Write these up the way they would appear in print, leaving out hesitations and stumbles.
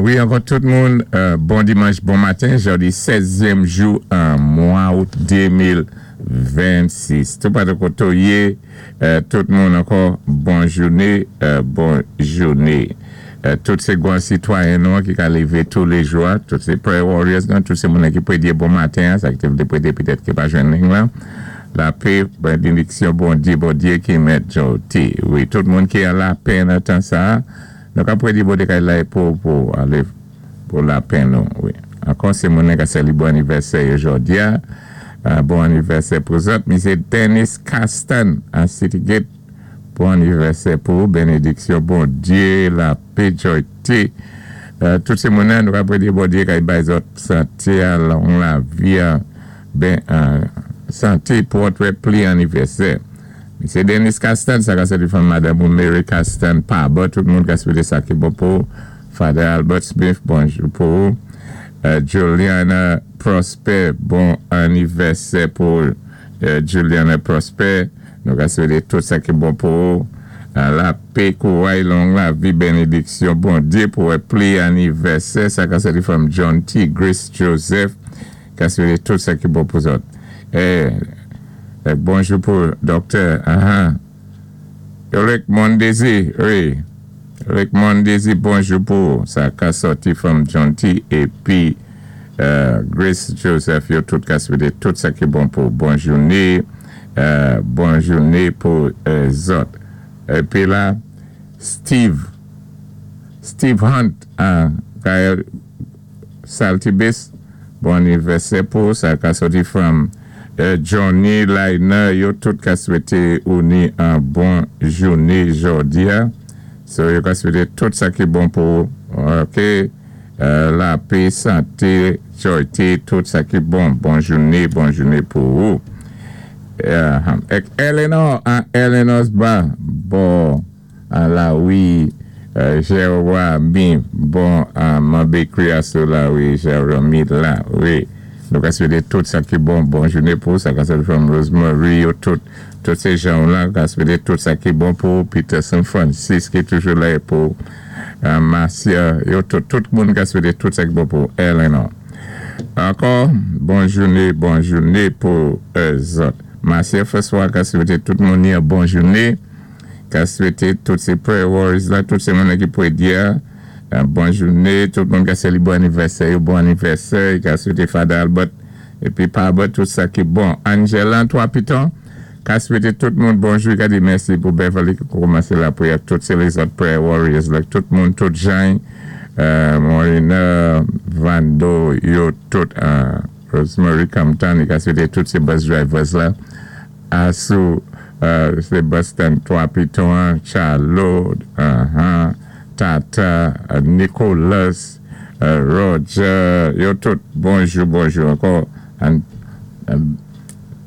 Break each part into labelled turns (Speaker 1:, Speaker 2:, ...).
Speaker 1: Wi, ankò tout moun, bon dimanch, bon maten, jòdi sèzyèm jou mwa out 2026. Toupatou koté w yé, tout moun ankò bon jouné, bon jouné. Tout sé gwan sitwayen nou an ki ka lévé tou lé jou a, tout sé prayer warriors nou, tout sé moun ki prédé bon maten an, sa ki té vlé prédé petèt ki pa jwenn ling lan. Lapé, benediksyon Bondyé, Bondyé ki mèt jòti. Wi, tout moun ki an lapè nan tan sa a, Nou ka predi bode kay la pou pou alé pou lapen nou wi. Ankò sé moun ka sélibwé anivèsè yo jòdi a. Bon anivèsè pou zòt. Misyé Dennis Castan a City Gate bon anivèsè pou ou. Benediksyon Bondyé, lapé, jòyté. Tout sé moun nou ka predi Bondyé kay bay zòt santé a, long lavi a, ben santé pou òt wè pli anivèsè. Misye Dennis Castan, sa ka soti fanm madanm ou Mary Castan pa bò, tout moun ka swété sa ki bon pou ou. Father Albert Smith, bonjou pou ou. Juliana Prosper, bon anivèsè pou Juliana Prosper. Nou ka swété tout sa ki bon pou ou. Lapé, kouray, long lavi, benediksyon, Bondyé pou wè pli anivèsè. Sa ka soti fanm John T. Grace Joseph, ka swété tout sa ki bon pou zòt. Bonjou pou Doktè Rick Mondesi, wi, Rick Mondesi, bonjou pou ou. Sa ka sòti fanm John T. Épi Grace Joseph, yo tout ka swété tout sa ki bon pou ou. Bon jouné, bon jouné pou zòt. Épi la, Steve, Steve Hunt, Gaël Saltibus, bon anivèsè pou ou. Sa ka sòti fanm Johnny Liner, yo tout ka swété ou ni an bon jouné jòdi a. So yo ka swété tout sa ki bon pou ou. Ok, lapé, santé, jòyté, tout sa ki bon. Bon jouné, bon jouné pou ou. Ek Eleanor, an Eleanor's Bar, bon la wi Jeremy, bon man bakery a sou la wi Jeremy la, wi. Nou ka swété tout sa ki bon, bon jouné pou ou. Sa ka sòti from Rosemary, yo tout, tout sé jan la, ka swété tout sa ki bon pou ou. Peterson Francis ki toujou la pou Marcia, yo tout, tout moun ka swété tout sa ki bon pou Eleanor. Ankò, bon jouné, bon jouné pou zòt. Marcia François ka swété tout moun yon bon jouné. Ka swété tout sé prayer warriors la, tout sé moun ki prédé a, bon jouné, tout moun ka sélibwé anivèsè yo, bon anivèsè, ka swété Father Albert épi pa bò tout sa ki bon. Angela Trois Pitons, ka swété tout moun bonjou, ka di mèsi pou Beverly ki kòmansé lapriyè, tout sé lèzòt prayer warriors la, tout moun, tout jan, Morena, Vando, yo tout, Rosemary Compton, ka swété tout sé bus drivers la, Asou Sebastian Trois Pitons, Charlo, Tata, Nicholas, Roger, yo tout, bonjou, bonjou ankò.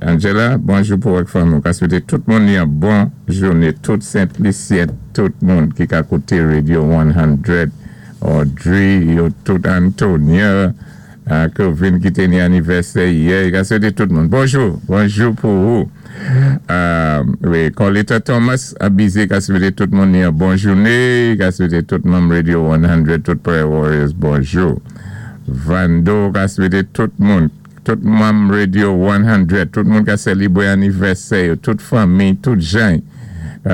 Speaker 1: Angela, bonjou pou ak fanmi. Ka swété tout moun yon bon jouné, tout Saint-Lucien, tout moun ki ka kouté Radio 100, Audrey, yo tout Antonia, Kelvin ki té ni anivèsè yè, ka swété tout moun. Bonjou, bonjou pou ou. Wi, Colita Thomas, abize ka swété tout moun yon bon jouné, ka swété tout manm Radio 100, tout Prayer Warriors, bonjou. Vando ka swété tout moun, tout manm Radio 100, tout moun ka sélibwé anivèsè yo, tout fanmi, tout jan,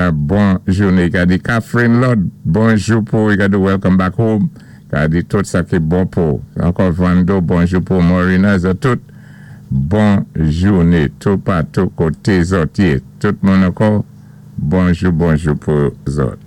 Speaker 1: bon jouné. Ka di Catherine Lord, bonjou pou ou, ka di welcome back home. Ka di tout sa ki bon pou. Ankò Vando, bonjou pou Morina, zòt tout, bon jouné, toupatou koté zòt yé. Tout moun ankò, bonjou, bonjou pou zòt.